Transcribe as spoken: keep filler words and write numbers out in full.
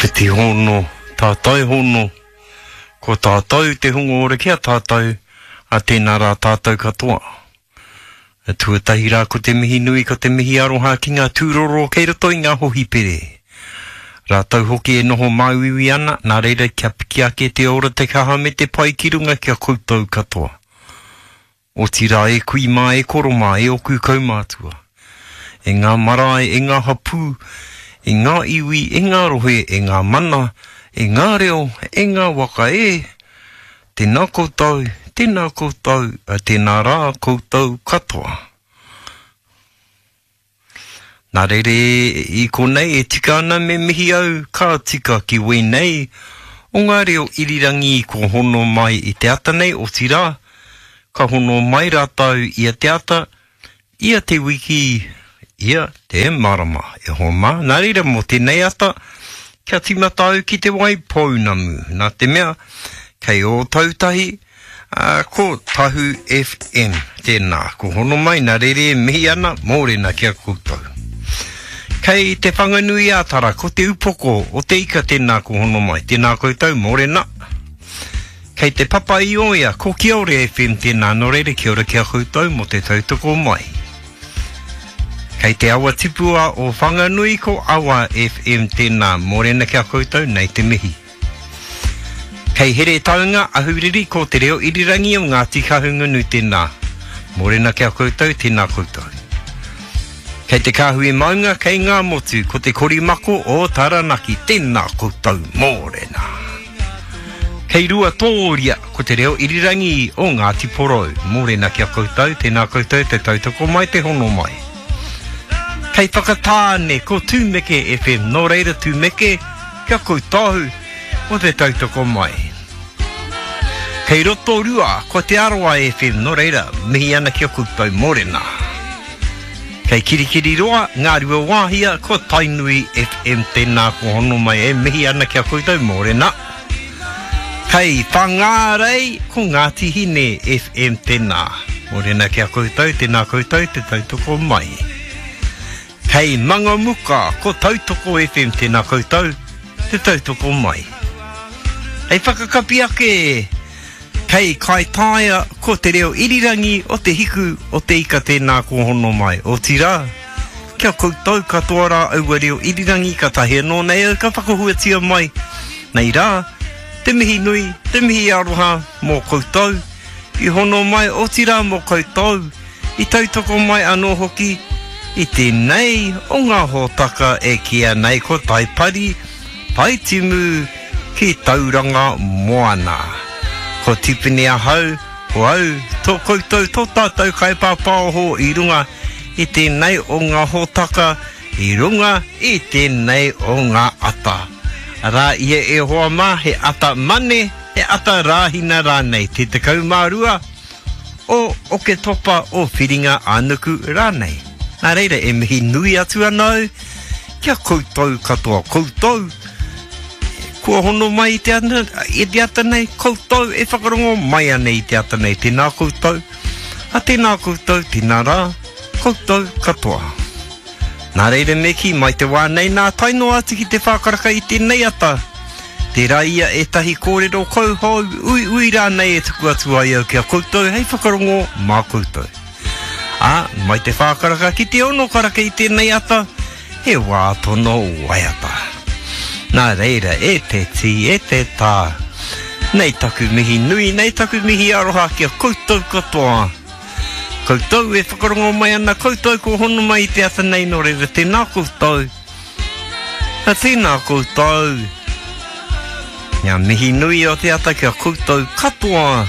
Whiti hono, tātai hono, ko tātou te hunga ora ki a tātou, a tēnā rā tātou katoa. A tuatahi rā ko te mihi nui, ko te mihi aroha ki ngā tūroro kei roto i ngā hohipere. Rātou hoki e noho māuiui ana, nā reira kia piki ake te ora te kaha me te pai ki runga ki a koutou katoa. Otirā e kui mā, e koro mā, e oku kaumātua. E ngā marae, e ngā hapū, e ngā iwi, e ngā rohe, e ngā mana, e ngā reo, e ngā waka e, tēnā koutou, tēnā koutou, a tēnā rā koutou katoa. Nā reira i konei e tika ana me mihi au ka tika ki wēnei o ngā reo irirangi ko hono mai i te ata nei, otirā, ka hono mai rātou ia te ata, ia te wiki, ia te marama. E hoa mā, nā reira mō tēnei ata, kia tīmata au ki te Waipounamu. Nā te mea, kei Ōtautahi, ā, ko Tahu F M tēnā. Ko hono mai, nā reira e mihi ana, mōrena ki a koutou. Kei te Whanganui-ā-Tara, ko te upoko o te ika tēnā ko hono mai. Tēnā koutou, mōrena. Kei te Papa i Oia, ko Kiore F M tēnā, nō reira kia ora ki a koutou mō te tautoko mai. Kei te awa tipua o Whanganui, ko Awa F M tēnā, mōrena ki a koutou, nei te mihi. Kei Heretaunga, Ahuriri, ko te reo irirangi o Ngāti Kahungunu tēnā, mōrena ki a koutou, tēnā koutou. Kei te Kāhui Maunga, kei ngā motu, ko te korimako o Taranaki, tēnā koutou, mōrena. Kei Ruatōria, ko te reo irirangi o Ngāti Porou, mōrena ki a koutou, tēnā koutou, te tautoko mai, te hono mai. Kei Whakatāne, ko Tūmeke F M, nō reira Tūmeke, kia koutou, o te tautoko mai. Kei Rotorua, ko Te Arawa F M, nō reira, mihi ana ki a koutou, mōrena. Kei Kirikiriroa, Ngā Rua Wāhia, ko Tainui F M tēnā ko hono mai e mihi ana ki a koutou, mōrena. Kei Whangārei, ko Ngāti Hine F M tēnā. Mōrena ki a koutou, tēnā koutou, te tautoko mai. Kei Mangamuka, ko Tautoko F M tēnā koutou, te tautoko mai. Hei whakakapi ake, kei Kaitaia, ko te reo irirangi o te hiku o te ika tēnā ko hono mai. Otirā, kia koutou katoa rā aua reo irirangi ka tahi anō nei au ka whakahuatia mai. Nei rā, te mihi nui, te mihi aroha mō koutou, i hono mai otirā mō koutou, i tautoko mai anō hoki, i tēnei o ngā hōtaka e kīia nei ko Taipari, Taitimu ki Tauranga Moana. Ko Tipene ahau, ko au, tō koutou, tō tātou kaipāpāoho i runga i tēnei o ngā hōtaka, i runga i tēnei o ngā ata. Arā ia e hoa mā, he ata mane, he ata rāhina rānei, te tekau mā rua o Oketopa o Whiringa ā-nuku rānei. Nā reira e mihi nui atu ana au kia koutou katoa, koutou kua hono mai i te ata, i te ata nei, koutou e whakarongo mai ana i te ata nei, tēnā koutou, a tēnā koutou, tēnā rā, koutou katoa. Nā reira me kī mai te wā nei nā tae noa atu ki te whākaraka i tēnei ata. Tērā ia ētahi kōrero kauhou, uiui rānei e tuku atu ai au ki a koutou hei whakarongo mā koutou. Ā, mai te whākaraka ki te ono karaka i tēnei ata, he wā tono waiata. Nā reira, e te tī, e te tā, nei taku mihi nui, nei taku mihi aroha ki a koutou katoa. Koutou e whakarongo mai ana, koutou ko hono mai i te ata nei, nō reira, tēnā koutou. A tēnā koutou. Ngā mihi nui o te ata ki a koutou katoa.